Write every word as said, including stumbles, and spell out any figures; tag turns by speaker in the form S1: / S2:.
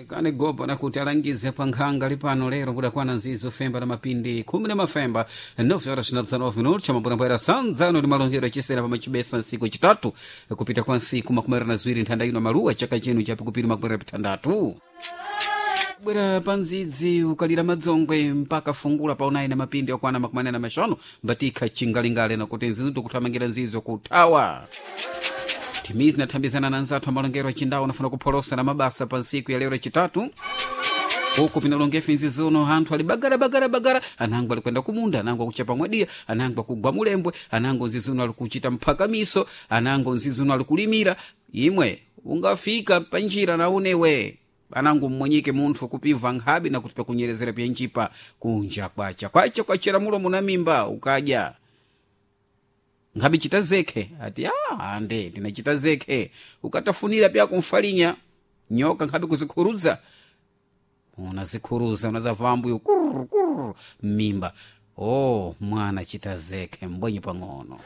S1: Lekani gopa nakuti alangize pa nkhanga lipano lero kudakwana nzizo femba na mapindi khumi na mafemba nove horas na dezenove minutos chamabwerabwera sanzano ni malongero achisera pamachibesa nsiku chitatu kupita kwa nsiku makumi na ziwiri nthanda ino maluwa chaka chino chapikupiri makumi na pitandatu bwera pandzidzi ukalira madzongwe mpaka fungula paunayi na mapindi okwana makumi anayi na maxanu mbatikha chingalingale nakuti nzizo tikuthamangira nzizo kuthawa timizi nathambizana na nzathu amalongero achindawo anafuna kupholosa na mabasa pa ntsiku ya lero chitatu huku pinalongefe nzi zino anthu ali bagara bagara bagara anango alikwenda kumunda anango akuchapa mwadiya anango akugwa mulembwe anango nzizino ali kuchita mphakamiso anango nzizino ali kulimira imwe ungafika panjira naunewe anango mmwenyike munthu kupimva nkhabe nakuti pakunyerezera pyanjipa kunja kwacha kwacha kwachera mulomo na mimba ukadya nkhabe chita zekhe ati ah ande tinachita zekhe ukatafunira pya kumfalinya nyoka nkhabe kuzikhurudza unazikhuruza unazavambuyo kurr kurr mimba oh mwana chita zekhe mbwenye pang'ono.